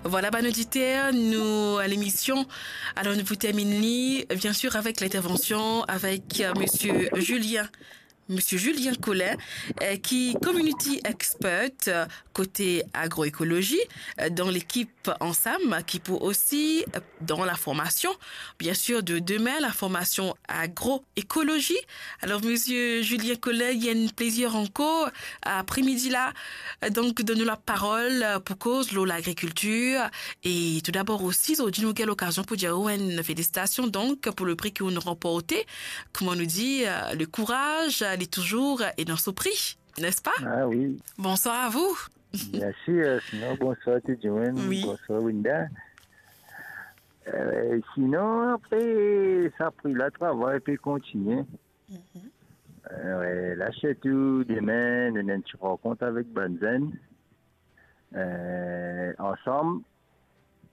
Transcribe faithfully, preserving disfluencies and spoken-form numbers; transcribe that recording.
Vwala, bann oditer, nou, lemision, alor nou pou terminn li, bien sir, avek lintervansion avek, euh, Misie Julien, Misie Julien Collin, euh, ki community expert, euh, kote agroekolozi, euh, dan lekip Ansam, ki pou osi, euh, dan laformasion, bien sir, de demin, laformasion agroekolozi. Alor, Misie Julien Collin, li enn plezir ankor, apremidi la, euh, donk, donn nou laparol, euh, pou koz lor lagrikiltir. E toudabor osi, zordi nou gagn lokazion pou dir ou enn felisitasion, donk, pou le pri ki ou'nn ranporte. Kouma nou dir, euh, le kouraz, euh, li touzour, euh, est dans son prix, n'est-ce pas? Ah oui. Bonsoir à vous. Mersi, euh, sinon, bonsoir tout dimoun. Oui. Bonsoir, Winda. Euh, sinon, apre, sa pri la, travay pe kontigne. Mhm. Euh, la, sirtou demin, nou ena enn ti rankont avek bann zenn. Euh, ansam,